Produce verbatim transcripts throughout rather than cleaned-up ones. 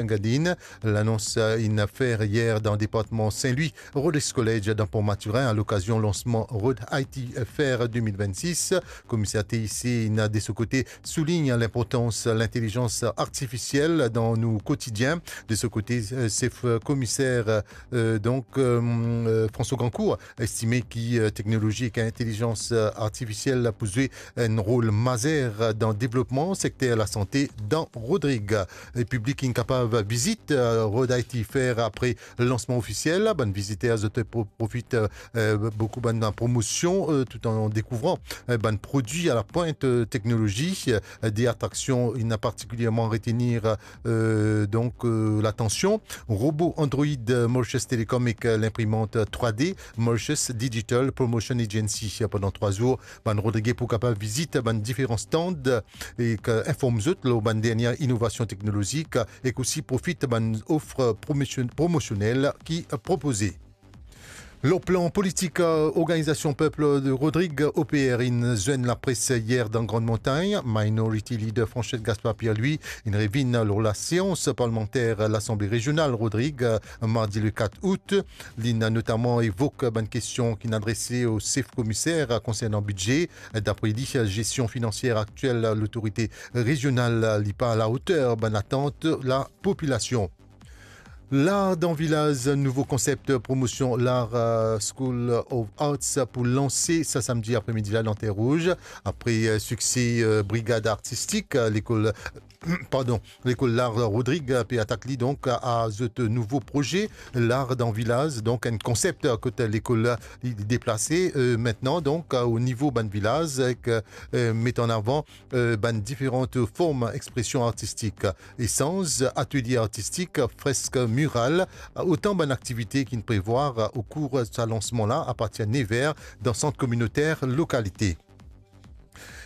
Engadine. Lanons, euh, inn fer yer dan departman Saint-Louis, Rhodes College dan Port Mathurin, a lokazion lansman Rhode I T Fair de mil vennsis. Komiser T I C inn de so kote soulign linportans lintelizans artifisiel dan nou kotidien. De so kote, euh, sef komiser, euh, donk, euh, euh, François Gancour estime ki, euh, teknolozi ek intelizans, euh, artifisiel pou zwe enn rol mazer dan devlopman sekter lasante dan Rodrig. E piblik inn kapav vizit, euh, Rhode I T Fair apre lansman ofisiel. Bann viziter zot pro-, profit, euh, euh, boukou bann promosion, euh, tout an dekouvran, euh, bann prodwi a lapwint, euh, teknolozi. Euh, de atraksion inn partikilierman retenir, euh, donk, euh, latansion. Robo Android, euh, Mauritius Telecom ek, euh, linprimant trwa D Mauritius Digital Promotion Agency. Pandan trwa zour, bann Rodrigé pou kapav vizit bann diferan stand ek, euh, inform zot lor bann dernie inovasion teknolozik ek osi profit bann of promosion-, promosionel ki propoze. Lor plan politik, euh, Organizasyon Pep Rodrig, O P R, inn zwenn lapres yer dan Grande Montagne. Minority Leader Franchette Gaspard Pierre, li, inn revinn lor laseans parlmanter Lasanble Rezional Rodrig, euh, mardi le kat out. Li inn notaman evok bann kestion ki inn adrese o sef komiser konsernan bidze. Dapre li, gestion finansier aktiel Lotorite Rezional li pa alaoter bann atant lapopilasion. Lar dan vilaz, nouvo konsep promosion Lar, euh, School of Arts pou lanse sa samdi apremidi la dan Terre Rouge. Apre, euh, sikse, euh, brigad artistik, euh, lekol, pardon, lekol Lar Rodrig pe atak li donk a, a zot nouvo proze Lar dan vilaz, donk enn konsep kot lekol li deplase, euh, mintnan donk, euh, o nivo bann vilaz ek, euh, met an avan, euh, bann diferan form expresion artistik. Esanz, atelie artistik, fresk, miral, otan bann aktivite ki inn prevwar o kour sa lansman la apartir nev er dan sant kominoter lokalite.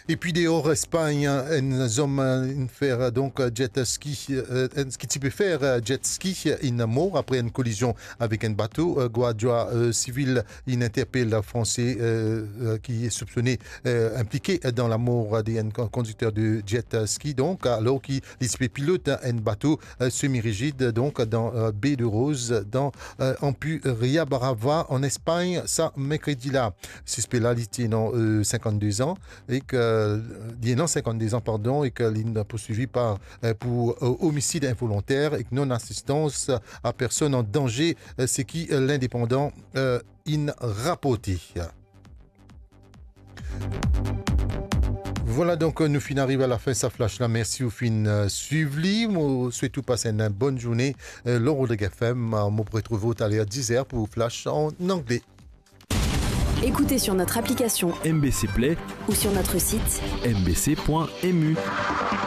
Epi deor Espagn, enn zom, euh, inn fer, euh, donk, euh, jet ski, euh, enn, ki ti pe fer, euh, jet ski, euh, inn mor apre enn kolizion avek enn bato. Euh, gwardia, euh, sivil inn interpel Franse, euh, euh, ki soupsone, euh, inplike dan lamor de enn kon-, kondikter de jet ski, donk, alor ki li ti pe pilot enn bato, euh, semi-rijid, donk, dan, euh, Baie de Rose, dan, euh, Ampuria Brava, an Espagn, sa merkredi la. Sispe la, li ti ena, euh, sinkant-de-an, ek, euh, li ena sinkant-de-an, pardon, ek li inn pourswivi par, euh, pou, euh, omisid involonter ek non-asistans a personn an danze, euh, seki, euh, L'Indépendant, euh, inn raporte. Vwala, donk, nou finn ariv a lafin sa flash la. Mersi ou finn, euh, swiv li. Mo swet ou pas enn bonn zourne, euh, lor Rodrig F M. Euh, mo pou retrouv ou taler diz er pou flash an angle. Écoutez sur notre application M B C Play ou sur notre site M B C point M U.